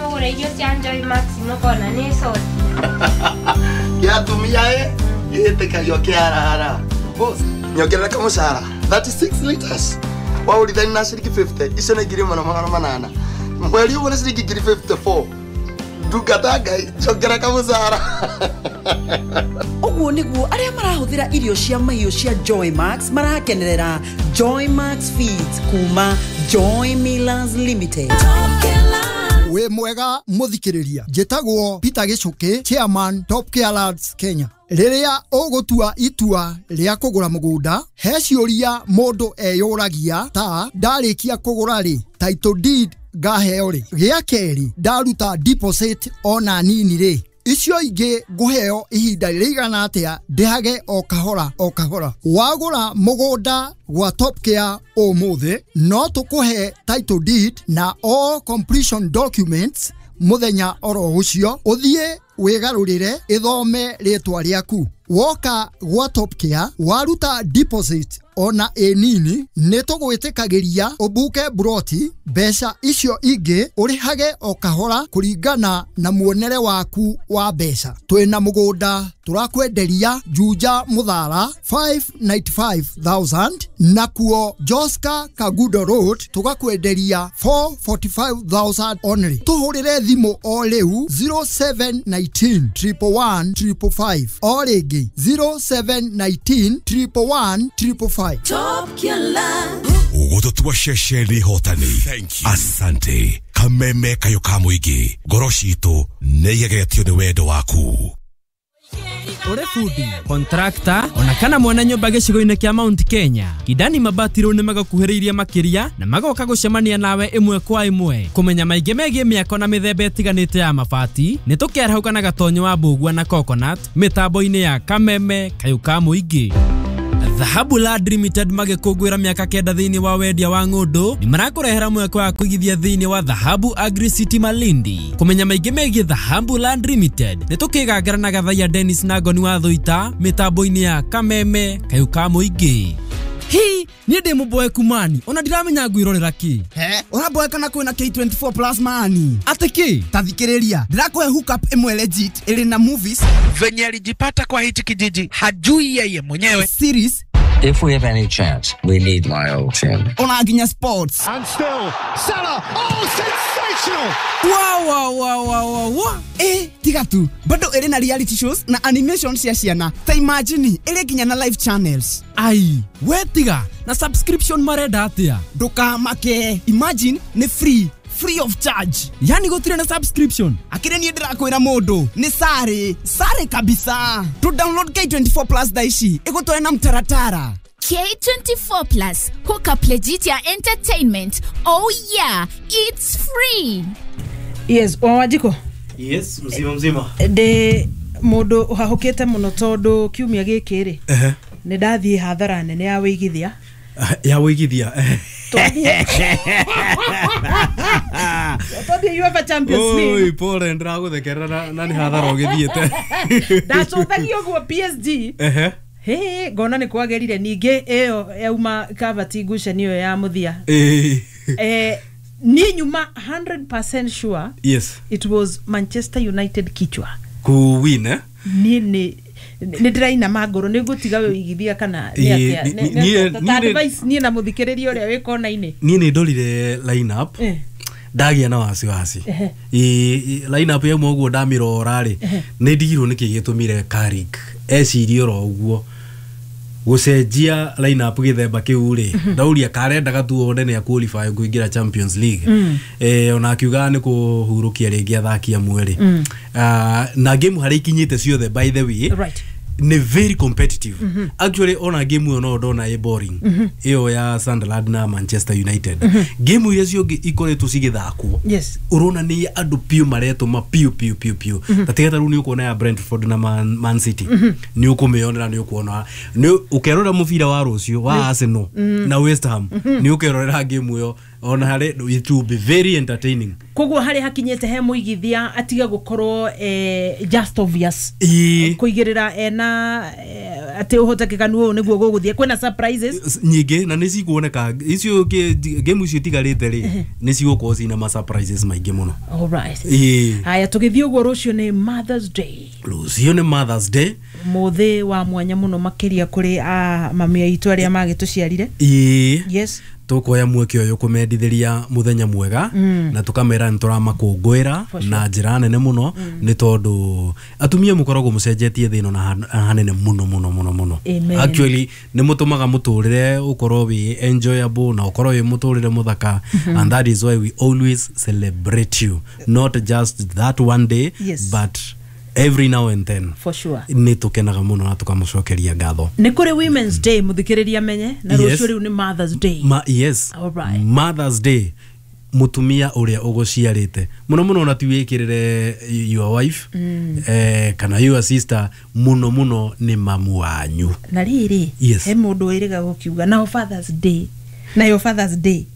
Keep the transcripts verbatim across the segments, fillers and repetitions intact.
Mũgũre irio cia Joy Max mũkona nĩ coti. Kĩa atumia ĩ gĩtĩkagio kĩarara. Boss, nyongerera kamũcara thirty-six liters. Waũrithani na ciringi fifty, icio nĩ ngiri ĩmwe na magana manana. Mweri ũguo nĩ ciringi ngiri fifty-four. Ndungata Ngai, njongera kamũcara. Ũguo nĩguo arĩa marahũthĩra irio cia mahiũ cia Joy Max marakenerera Joy Max Feeds kuma Joy Millers Limited. Wĩ mwega mũthikĩrĩria, njĩtagwo Peter Gĩcũkĩ, chairman Top Care Lands Kenya. Rĩrĩa ũgũtua itua rĩa kũgũra mũgũnda, he ciũria mũndũ eyũragia ta ndarĩkia kũgũra rĩ, title deed ngaheo rĩ, gĩa kerĩ ndaruta deposit ona nini rĩ, icio ingĩ ngũheo ihinda rĩigana atĩa ndĩhage o kahora o kahora. Wagũra mũgũnda gwa Top Care ũmũthĩ, no tũkũhe title deed na all completion documents mũthenya oro ũcio, ũthiĩ wĩgarũrĩre ĩthome rĩtwa rĩaku. Woka gwa Top Care waruta deposit ona ĩ nini, nĩ tũgwĩtĩkagĩria ũbuke buroti, mbeca icio ingĩ ũrĩhage o kahora kũringana na muonere waku wa mbeca. Twĩna mũgũnda tũrakwenderia Juja Mũthara five ninety-five thousand, nakuo Joska Kagudo Road tũgakwenderia four forty-five thousand only. Tũhũrĩre thimũ o rĩu zero seven nineteen triple one triple five, o rĩngĩ zero seven nineteen triple one triple five. Top Care. Ũgũtũtua ceceni hotani. Asante. Kameme kayo ka mũingĩ, ngoro citũ nĩ igegetio nĩ wendo waku. Ure fundi, kontrakta, ona kana mwana nyũmba gĩcigo-inĩ kĩa Mount Kenya. Kidani mabati rĩu nĩ magakuhĩrĩirie makĩria na magoka gũcemania nawe ĩmwe kwa ĩmwe. Kũmenya maingĩ megiĩ mĩako na mĩthemba ĩtiganĩte ya mabati, nĩ tũkĩarahũka na gatonyo wa mbũgua na coconut mĩtambo-inĩ ya Kameme kayũ ka mũingĩ. Dhahabu Land Limited magĩkũngũĩra mĩaka kenda thĩinĩ wa wendia wa ng'ũndũ, nĩ marakũrehera mweke wa kũigithia thĩinĩ wa Dhahabu Agri City Malindi. Kũmenya maingĩ megiĩ Dhahabu Land Limited, nĩ tũkĩgangara na Gathaiya Dennis na Ngoni wa Thũita mĩtambo-inĩ ya Kameme kayũ ka mũingĩ. Hi, niĩ ndĩ mũboeku mani, ona ndiramenya ngwĩrorera kĩ. He, ũraboeka na kwĩna K twenty-four plus mani. Atĩ kĩ? Ta thikĩrĩria, ndĩrakũhe hookup ĩmwe legit ĩrĩ na movies. Venye alijipata kwa hichi kijiji, hajui yeye mwenyewe. Series. If we have any chance, we need my old team. Ona nginya sports. And still, Salah, oh, sensational! Wow, wow, wow, wow, wow, wow. Eh, tiga tu, bado ĩrĩ na reality shows na animation cia ciana. Ta imagine, ĩrĩ nginya na live channels. Ai, we tiga, na subscription marenda atia? Ndũkamake, imagine, nĩ free. Free of charge. Yani gũtirĩ na subscription. Akĩrĩ niĩ ndĩrakwĩra mũndũ, nĩ sare, sare kabisa. To download K twenty-four plus thaa ici, ĩgũtware na mtaratara. K twenty-four plus, hook up legit ya entertainment. Oh yeah, it's free. Yes, Wanjiko. Yes, mzima mzima. Ndĩ mũndũ ũhahũkĩte mũno tondũ kiumia gĩkĩ rĩ, nĩ ndathiĩ hathara nene ya wĩigithia. Ya wĩigithia. Twathiĩ UEFA Champions League. Oi, pole ndĩragũthekerera na na nĩ hathara ũgĩthiĩte. Ndacũthagia ũguo P S G. Ehe. He, ngona nĩ kwagĩrire ningĩ ĩyo yauma Cavani ngucanio ĩyo ya mũthia. Eh. Eh, niĩ nyuma hundred percent sure. Yes. It was Manchester United kichwa. Ku win eh? Niĩ nĩ nĩ ndĩrainama ngoro nĩ ngũtiga wĩigithia kana nĩ atĩa? Ta advice niĩ na mũthikĩrĩria ũrĩa wĩ kona-inĩ. Niĩ nĩ ndorire line up. Ndagia na wasiwasi. Line up yauma ũguo ndamĩrora rĩ, nĩ ndigirwo nĩkĩ gĩtũmire Carrick ecirie oro ũguo gũcenjia line up gĩthemba kĩu rĩ, ndauria karendaga tu one nĩ qualify kũingĩra Champions League. Eh, ona akiuga nĩ kũhurũkia rĩngĩ athaki amwe rĩ. Na game harĩa ikinyĩte ciothe by the way, right, ni very competitive. Mm -hmm. Actually ona game ĩyo no ndona ĩ boring. Ĩyo mm -hmm. ya Sunderland na Manchester United. Mm -hmm. Game iria ciongĩ ikoretwo cigĩthakwo. Yes. Urona ni andũ piũ maretũma piũ piũ piũ piũ. Mm -hmm. Tatiga ta rĩu nĩ ũkuona ya Brentford na Man, Man City. Mm -hmm. Nĩ ũkũmĩonera nĩ ũkuona. Nĩ ũkerora mũbira wa rũciũ wa mm -hmm. Arsenal mm -hmm. na West Ham. Mm -hmm. Nĩ ũkerorera game ĩyo ona harĩ it will be very entertaining. Koguo harĩ hakinyĩte he mũigithia atiga gũkorwo eh, just obvious. Ii. Kũigĩrĩra ena eh, Atĩ ũhotekekanu ũyũ nĩguo gũgũthiĩ kwĩna surprises nyingĩ na nĩ cikuoneka icio game icio itigarĩte rĩ nĩ cigũkorwo cina ma surprises maingĩ mũno. All right. Ĩĩ. Haya tũgĩthiĩ ũguo rũciũ nĩ Mother's Day. Rũciũ nĩ Mother's Day. Mũthĩ wa mwanya mũno makĩria kũrĩ a mami aitũ arĩa magĩtũciarire. Ĩĩ. Yes. Tukoya mweke ũyũ kũmendithĩria mũthenya mwega mm. na tũkamera nĩ tũramakũngũĩra sure. na njĩra nene mũno mm. nĩ tondũ atumia mũkoragwo mũcenjetie thĩ ĩno na hanene mũno mũno mũno mũno. Actually nĩ mũtũmaga mũtũrĩre ũkorwo wĩ enjoyable na ũkorwo wĩ mũtũrĩre mũthaka mm -hmm. and that is why we always celebrate you, not just that one day yes. but every now and then. For sure. Nĩ tũkenaga mũno na tũkamũcokeria ngatho. Nĩ kũrĩ Women's Day mũthikĩrĩria menye na rũciũ rĩu nĩ Mother's Day. Ma, yes. All right. Mother's Day mutumia ũrĩa ũgũciarĩte mũno mũno na ti wĩkĩrĩre your wife mm. eh, kana your sister mũno mũno nĩ mamu wanyu. Na rĩrĩ yes. he mũndũ wĩrĩga gũkiuga nao Father's Day nayo Father's Day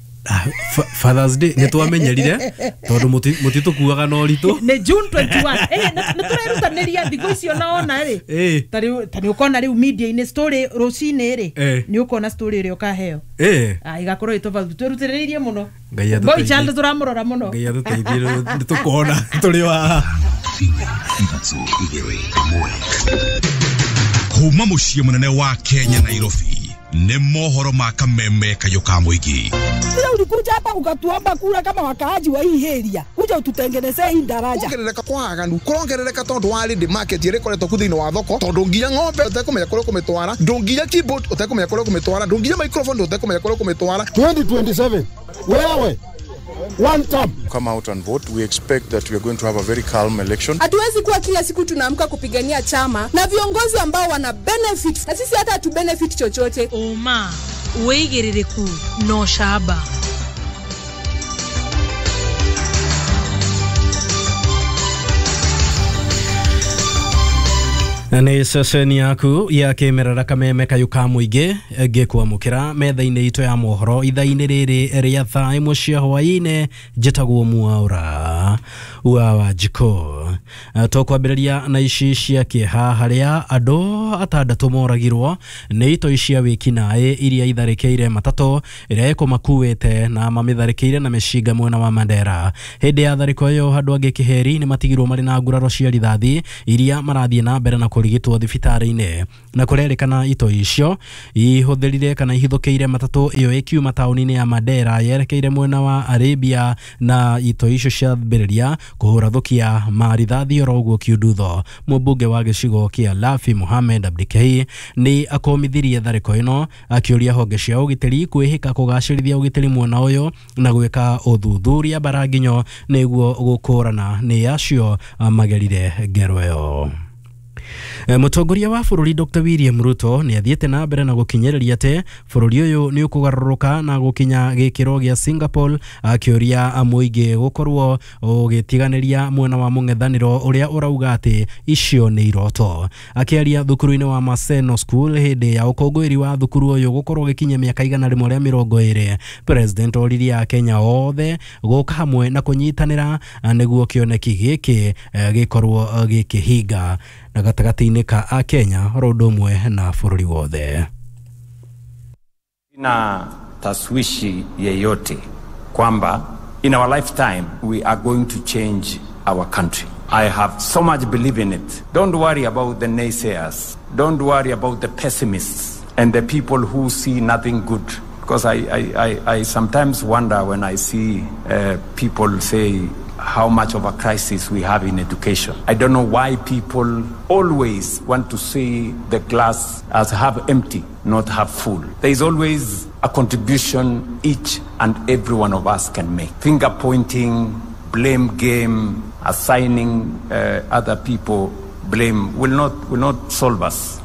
Father's Day nĩ twamenyerire tondũ mũtitũkuaga na ũritũ nĩ June twenty-one eh nĩ tũrerutanĩria thikũ icio naona rĩ ta rĩu ta nĩ ũkona rĩu media-inĩ story rũcinĩ rĩ nĩ ũkona story ĩrĩa ũkaheo eh ah igakorwo ĩ tofauti twĩrutĩrĩirie mũno Ngai boy child tũramũrora mũno Ngai atũteithie nĩ tũkona tũrĩ wa kuma mũciĩ mũnene wa Kenya Nairobi nĩ mohoro ma kameme kayũ ka mũingĩ. Sasa ulikuja hapa ukatuomba kura kama wakaaji wa hii area, kuja ututengenezee hii daraja. Kuongerereka kwa aganu kurongerereka tondu wa ready market ĩrĩa ĩkoretwo ku thĩinĩ wa thoko tondu nginya ng'ombe ũtekũmenya kũrĩa ũkũmĩtwara, ndũnginya keyboard ũtekũmenya kũrĩa ũkũmĩtwara, ndũnginya microphone ũtekũmenya kũrĩa ũkũmĩtwara. twenty twenty-seven wewe one term. Come out and vote. We expect that we are going to have a very calm election. Hatuwezi kuwa kila siku tunaamka kupigania chama na viongozi ambao wana benefit na sisi hata hatu benefit chochote. Oma wĩigĩrĩrĩku no shaba. Nĩ ceceni yaku ya kĩmerera kameme kayũ ka mũingĩ ngĩkwamũkĩra metha-inĩ itũ ya mohoro ithaa-inĩ rĩrĩ rĩa thaa ĩmwe cia hwaĩ-inĩ njĩtagwo Mwaura wa Wanjikũ. Tũkwambĩrĩria na ici cia kĩeha harĩa andũ atandatũ moragirwo nĩ itoi cia wĩkinaĩ iria itharĩkĩire matatũ ĩrĩa ĩkũmakuĩte na mamĩtharĩkĩire na mĩcinga mwena wa Mandera. Hĩndĩ ya tharĩko ĩyo andũ angĩ kĩheri nĩ matigirwo marĩ na nguraro cia rithathi iria marathiĩ na mbere na kũrigitwo thibitarĩ-inĩ na kũrerĩkana itoi icio ihũthĩrire kana ihithũkĩire matatũ ĩyo ĩkiuma taũni-inĩ ya Mandera yerekeire mwena wa Arabia na itoi icio ciambĩrĩria kũhũra thukia marithathi oro ũguo kiundutho. Mũmbunge wa gĩcigo kĩa Lafi Mohamed Abdikei nĩ akomithirie tharĩko ĩno akĩũria honge cia ũgitĩri kwĩhĩka kũgacĩrithia ũgitĩri mwena ũyũ na gwĩka ũthuthuria baranginyo nĩguo gũkũrana nĩ acio magerire ngero ĩyo. Mũtongoria wa bũrũri Doctor William Ruto nĩ athiĩte na mbere na gũkinyĩrĩria atĩ bũrũri ũyũ nĩ ũkũgarũrũka na gũkinya gĩkĩro gĩa Singapore akĩũria mũingĩ gũkorwo ũgĩtiganĩria mwena wa mũng'ethanĩro ũrĩa ũrauga atĩ icio nĩ iroto. Akĩaria thukuru-inĩ wa Maseno School hĩndĩ ya ũkũngũĩri wa thukuru ũyũ gũkorwo ũgĩkinyia mĩaka igana rĩmwe rĩa mĩrongo ĩrĩ, President oririe Akenya othe gũka hamwe na kũnyitanĩra nĩguo kĩoneki gĩkĩ gĩkorwo gĩkĩhinga na gatagatĩ-inĩ ka Akenya oro ũndũ ũmwe na bũrũri wothe. Na taswishi yeyote kwamba in our lifetime we are going to change our country. I have so much belief in it. Don't worry about the naysayers. Don't worry about the pessimists and the people who see nothing good. Because I, I, I, I sometimes wonder when I see uh, people say how much of a crisis we have in education. I don't know why people always want to see the glass as half empty, not half full. There is always a contribution each and every one of us can make. Finger pointing, blame game, assigning uh, other people blame will not, will not solve us.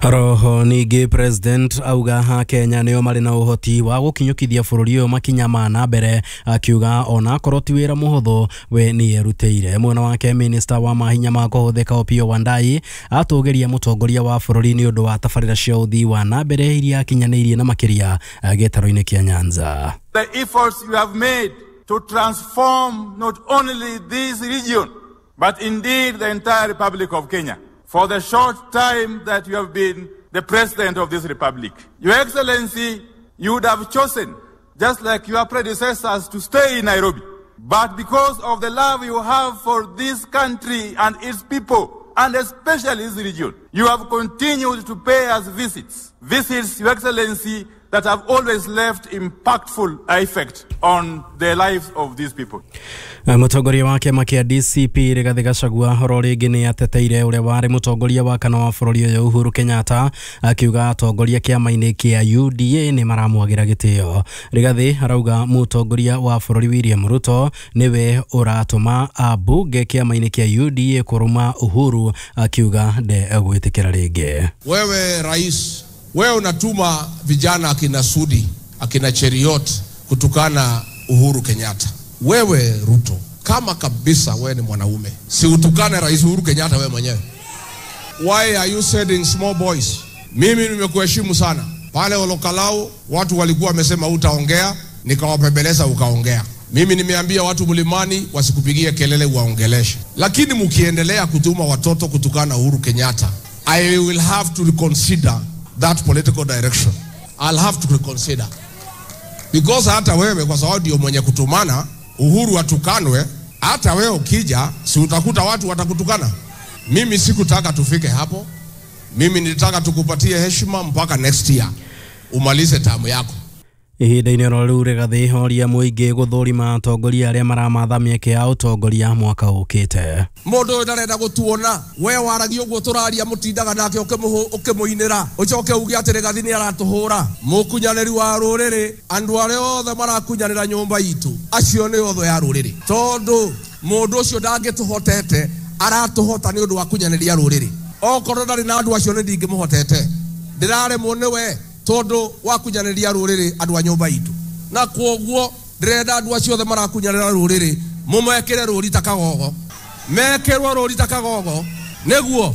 Roho ningĩ President auga ha Kenya nĩo marĩ na ũhoti wa gũkinyũkithia bũrũri ũyũ makinya ma na mbere akiuga ona akorwo ti wĩra mũhũthũ we nĩ erutĩire. Mwena wake Minister wa mahinya ma kũhũthĩka Opiyo Wandayi atũgĩria mũtongoria wa bũrũri nĩ ũndũ wa tabarĩra cia ũthii wa na mbere iria akinyanĩirie na makĩria gĩtarũ-inĩ kĩa Nyanza. The efforts you have made to transform not only this region but indeed the entire Republic of Kenya. For the short time that you have been the President of this Republic. Your Excellency, you would have chosen, just like your predecessors, to stay in Nairobi. But because of the love you have for this country and its people, and especially this region, you have continued to pay us visits. Visits, Your Excellency, that have always left impactful effect on the lives of these people. Mũtongoria wa kĩama kĩa D C P Rigathĩ Gachagua oro rĩngĩ nĩ ateteire ũrĩa warĩ mũtongoria wa kana wa bũrũri ũyũ Uhuru Kenyatta, akiuga atongoria kĩama-inĩ kĩa U D A nĩ maramwagĩra gĩtĩo. Rigathĩ arauga mũtongoria wa bũrũri William Ruto nĩwe ũratũma ambunge kĩama-inĩ kĩa U D A kũruma Uhuru, akiuga ndegwĩtĩkĩra rĩngĩ. Wewe rais, wewe unatuma vijana akina Sudi, akina Cheriot kutukana Uhuru Kenyatta. Wewe Ruto, kama kabisa wewe ni mwanaume, si utukane Rais Uhuru Kenyatta wewe mwenyewe. Why are you sending small boys? Mimi nimekuheshimu sana. Pale Olokalao watu walikuwa wamesema utaongea, nikawapembeleza ukaongea. Mimi nimeambia watu mlimani wasikupigie kelele uwaongeleshe. Lakini mkiendelea kutuma watoto kutukana Uhuru Kenyatta, I will have to reconsider that political direction. I'll have to reconsider. Because hata wewe kwa sababu ndio mwenye kutumana Uhuru atukanwe, hata wewe ukija si utakuta watu watakutukana. Mimi sikutaka tufike hapo. Mimi nilitaka tukupatie heshima mpaka next year umalize tamu yako. Ihinda-inĩ oro rĩu Rigathĩ oria mũingĩ gũthũrima atongoria arĩa maramatha mĩeke ya ũtongoria mwaka ũkĩte. Mũndũ ũyũ ndarenda gũtuona, we waragia ũguo tũraria mũtindaga nake ũkĩmũinĩra, ũcoke uge atĩ Rigathĩ nĩ aratũhũra. Mũkunyanĩri wa rũrĩrĩ, andũ arĩa othe marakunyanĩra nyũmba itũ, acio nĩ othe ya rũrĩrĩ, tondũ mũndũ ũcio ndangĩtũhotete, aratũhota nĩ ũndũ wa kunyanĩria rũrĩrĩ. Okorwo ndarĩ na andũ acio nĩ ndingĩmũhotete, ndĩraremwo nĩwe tondu wakunyanĩria rũrĩrĩ andũ a nyũmba itũ. Na kwoguo ndĩrenda andũ acio othe marakunyanĩra rũrĩrĩ mũmekĩre rũri ta kagogo, mekĩrwo rũri ta kagogo nĩguo.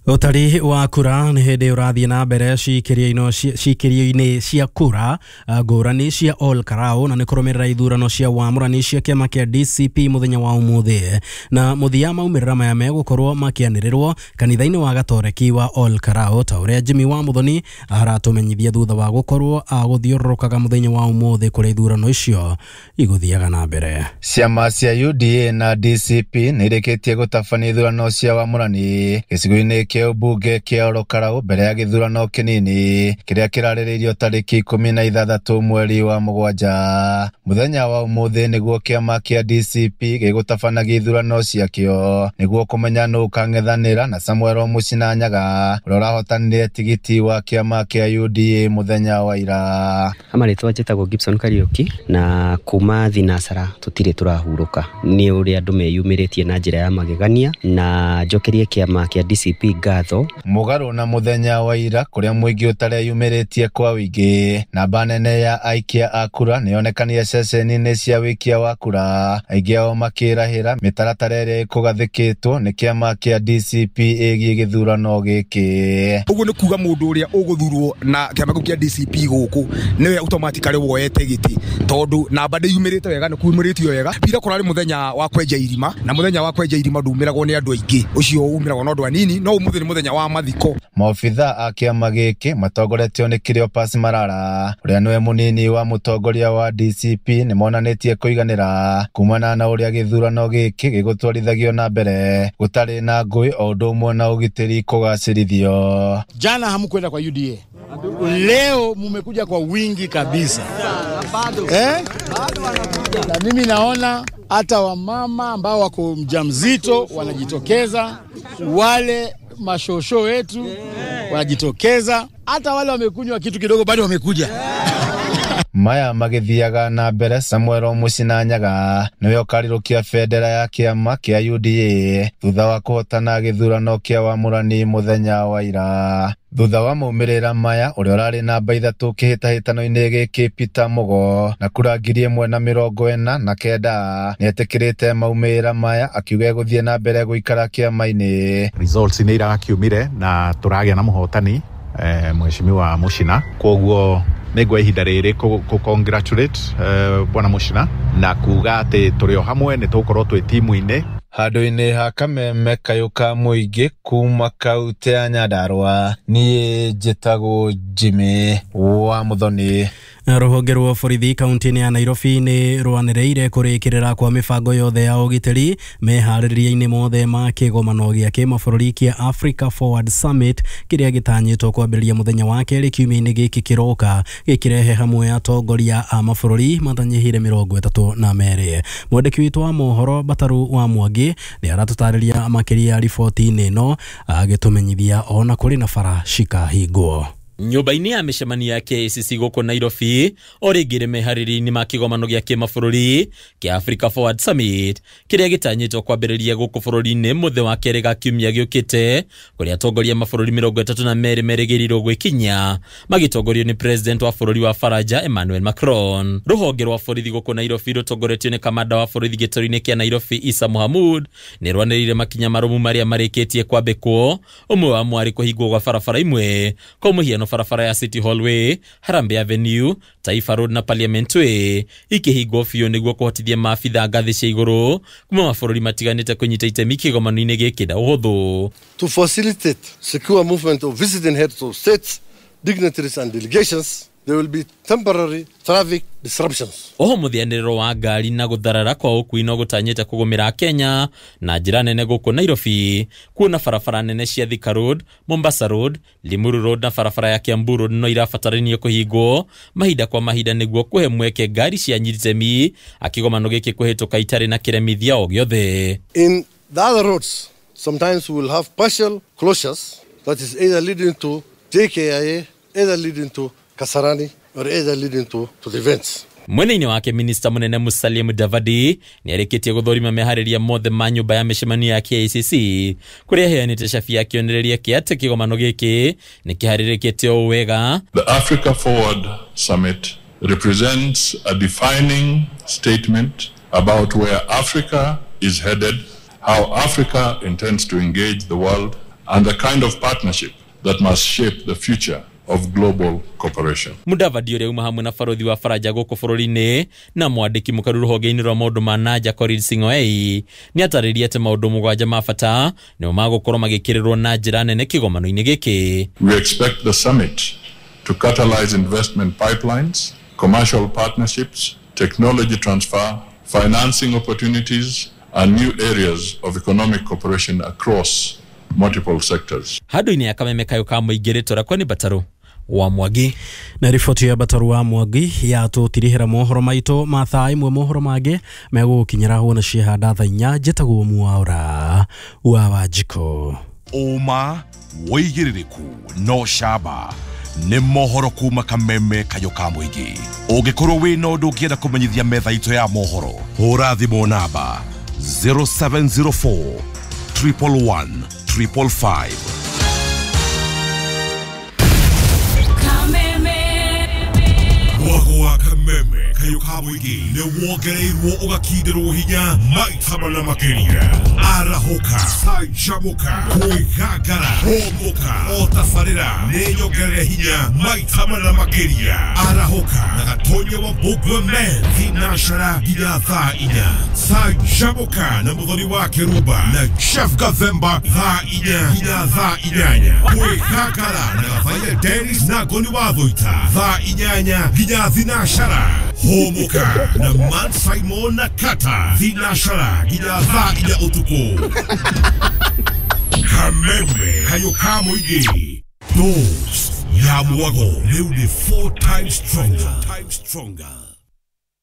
Ũtari wa kura nĩ hĩndĩ ũrathiĩ na mbere ciikĩrio-inĩ cia kura ngũrani cia Ol Kalou, na nĩ kũrũmĩrĩra ithurano cia wamũrani cia kĩama kĩa D C P mũthenya wa ũmũthĩ. Na mũthia maumĩrĩra maya megũkorwo makĩanĩrĩrwo kanitha-inĩ wa Gatoreki wa Ol Kalou, ta ũrĩa Jimmy wa Muthoni aratũmenyithia thutha wa gũkorwo agũthiũrũrũkaga mũthenya wa ũmũthĩ kũrĩa ithurano icio igũthiaga na mbere. Ciama cia U D A na D C P nĩ irĩkĩtie gũtabania ithurano cia wamũrani gĩcigo-inĩ kĩa ũmbunge kĩa Ol Kalou mbere ya gĩthurano kĩnini kĩrĩa kĩrarĩrĩirio tarĩki ikũmi na ithathatũ mweri wa mũgwanja. Mũthenya wa ũmũthĩ nĩguo kĩama kĩa D C P gĩgũtabanagia ithurano ciakĩo nĩguo kũmenya nũ ũkang'ethanĩra na Samuel Mũchina Nyaga ũrĩa ũrahotanire tigiti wa kĩama kĩa U D A mũthenya wa ira. Amarĩtwa njĩtagwo Gibson Kariuki, na kuma thinasara tũtirĩ tũrahurũka nĩ ũrĩa andũ meyumĩrĩtie na njĩra ya magegania, na njokerie kĩama kĩa D C P ngatho. Mũgarũ na mũthenya wa ira kũrĩa mũingĩ ũtareyumĩrĩtie kwa wĩingĩ, namba nene ya aikia a kura nĩyonekanire ceceni-inĩ cia wĩikia wa kura, aingĩ ao makĩrahĩra mĩtaratara ĩrĩa ĩkũgathĩkĩtwo nĩ kĩama kĩa D C P ĩgiĩ gĩthurano gĩkĩ. Ũguo nĩ kuga mũndũ ũrĩa ũgũthurwo na kĩama kĩu kĩa D C P gũkũ nĩwe automatically woete gĩtĩ, tondũ namba ndĩyumĩrĩte wega, nĩ kumĩrĩtio wega. Ira kũrarĩ mũthenya wa kwenja irima, na mũthenya wa kwenja irima ndumĩragwo nĩ andũ aingĩ, ũcio umĩragwo na andũ anini, no ũmũthĩ nĩ mũthenya wa mathiko. Maobitha a kĩama gĩkĩ matongoretio nĩ Cleopas Marara ũrĩa nĩwe mũnini wa mũtongoria wa D C P nĩ monanĩtie kũiganĩra kumana na ũrĩa gĩthurano gĩkĩ gĩgũtwarithagio na mbere gũtarĩ na ngũĩ o ũndũ ũmwe na ũgitĩri kũgacĩrithio. Jana hamkwenda kwa U D A, leo mumekuja kwa wingi kabisa eh? Na mimi naona hata wamama ambao wako mjamzito wanajitokeza, wale mashosho wetu wanajitokeza, hata wale wamekunywa kitu kidogo bado wamekuja. Maya magĩthiaga na mbere, Samuel Mũchina Nyaga nĩwe ũkarirũkia bendera ya kĩama kĩa U D A thutha wa kũhotana gĩthurano kĩa wamũrani mũthenya wa ira. Thutha wa maumĩrĩra maya, ũrĩa ũrarĩ namba ithatũ kĩhĩtahĩtano-inĩ gĩkĩ Peter Mugo na kura ngiri ĩmwe na mĩrongo ĩna na kenda nĩetĩkĩrĩte maumĩrĩra maya, akiuga egũthiĩ na mbere gũikara kĩama-inĩ. Results nĩ irakiumire na tũragĩa na mũhotani eh, Mheshimiwa Mũchina, kwoguo nĩngwa ihinda rĩrĩ kũ congratulate eh, bwana Mũchina na kuga atĩ tũrĩ o hamwe nĩ tũgũkorwo twĩ timu-inĩ. Handũ-inĩ ha kameme kayũ ka mũingĩ kuma kaunti ya Nyandarua, niĩ njĩtagwo Jimmy wa Muthoni. Rũhonge rwa borithi kaunti-inĩ ya Nairobi nĩ rwanĩrĩire kũrĩkĩrĩra kwa mĩbango yothe ya ũgitĩri meharĩrĩria-inĩ mothe ma kĩgomano gĩa kĩmabũrũri kĩa Africa Forward Summit kĩrĩa gĩtanyĩtwo kwambĩrĩria mũthenya wa kerĩ kiumia-inĩ gĩkĩ kĩroka, gĩkĩrehe hamwe atongoria a mabũrũri matanyihĩire mĩrongo ĩtatũ na merĩ. Mwandĩki witũ wa mohoro Bataru wa Mwangi nĩ aratũtarĩria makĩria riboti-inĩ ĩno, agĩtũmenyithia ona kũrĩ na bara cikahingwo. Nyũmba-inĩ ya mĩcemanio ya K I C C gũkũ Nairobi o rĩngĩ meharĩria-inĩ ma kĩgomano gĩa kĩmabũrũri kĩa Africa Forward Summit kĩrĩa gĩtanyĩtwo kwambĩrĩria gũkũ bũrũri-inĩ mũthĩ wa kerĩ ga kiumia gĩũkĩte, kũrĩa atongoria mabũrũri mĩrongo ĩtatũ na merĩ merĩgĩrĩirwo gwĩkinyia magĩtongorio nĩ president wa bũrũri wa Faranja Emmanuel Macron. Rũhonge rwa borithi gũkũ Nairobi rũtongoretio nĩ kamanda wa borithi gĩtaro-inĩ kĩa Nairobi Issa Mohamud nĩ rwanĩrĩire makinya marũmu marĩa marĩkĩtie kwambĩkwo, ũmwe wamo arĩ kũhingwo gwa barabara imwe kwa mũhiano barabara ya City Hall Way, Harambee Avenue, Taifa Road na Parliament Way ikĩhingwo biũ nĩguo kũhotithia maabitha ngathĩ cia igũrũ kuma mabũrũri matiganĩte kũnyita itemi kĩgomano-inĩ gĩkĩ na ũhũthũ. To facilitate secure movement of visiting heads of states, dignitaries and delegations, there will be temporary traffic disruptions. Oho mũthianĩrĩro wa ngari na gũtharara kwa ũkui no gũtanyĩte kũgũmĩra Kenya na njĩra nene gũkũ Nairobi, kuona barabara nene cia Thika Road, Mombasa Road, Limuru Road na barabara ya Kiambu Road no irabatarania kũhingwo mahinda kwa mahinda nĩguo kũhe mweke ngari cia nyitemi akĩgomano gĩkĩ kũhĩtũka itarĩ na kĩremithia o gĩothe. In the other roads, sometimes we will have partial closures that is either leading to J K I A, either leading to Kasarani or either leading to, to the events. Mwena-inĩ wake minista munene Musalia Mudavadi nĩarĩkĩtie gũthũrima meharĩria mothe ma nyũmba ya mĩcemanio ya K I C C kũrĩa aheanĩte cabi ya kĩonereria kĩa atĩ kĩgomano gĩkĩ nĩ kĩharĩrĩkĩte o wega. The Africa Forward Summit represents a defining statement about where Africa is headed, how Africa intends to engage the world, and the kind of partnership that must shape the future of global cooperation. Mudavadi ũrĩa uma hamwe na barothi wa Faranja gũkũ bũrũri-inĩ na mwandĩki mũkaru rũhonge-inĩ rwa maũndũ ma nanja Korir Sing'oei nĩatarĩria atĩ maũndũ mũgwanja ma bata nĩmo magũkorwo magĩkĩrĩrwo na njĩra nene kĩgomano-inĩ gĩkĩ. We expect the summit to catalyze investment pipelines, commercial partnerships, technology transfer, financing opportunities, and new areas of economic cooperation across multiple sectors. Handũ-inĩ ya kameme kayũ ka mũingĩ rĩtwa rĩakwa nĩ Bataru wa Mwangi. Na riboti ya Bataru wa Mwangi yatũtirihĩra mohoro maitũ ma thaa ĩmwe, mohoro mangĩ megũgũkinyĩra hũna ciahanda thaa inya. Njĩtagwo Mwaura wa Wanjikũ. Ũma wĩigĩrĩrĩku no camba nĩ mohoro kuma kameme kayũ ka mũingĩ. Ũngĩkorwo wĩna ũndũ ũngĩenda kũmenyithia metha itũ ya mohoro, hũra thimũ namba zero seven zero four triple one triple five. Mwago wa kameme kayũ ka mũingĩ nĩ wongereirwo ũgakindĩrwo hinya maita mana makĩria. Arahũka, canjamũka, kwĩgangara, hũmũka, o tabarĩra nĩ nyongerere hinya maita mana makĩria. Arahũka na Gatonya wa Mbũgua Men thinacara nginya thaa inya. Canjamũka na Mũthoni wa Kĩrumba na Jeff Gathemba thaa inya nginya thaa inyanya. Kwĩgangara na Gathaia Dennis na Ngoni wa Thũita thaa inyanya nginya thinacara. Hũmũka na Man Simon na Kata thinacara nginya thaa inya ũtukũ. Kameme kayũ ka mũingĩ. Dose ya mwago rĩu nĩ four times stronger.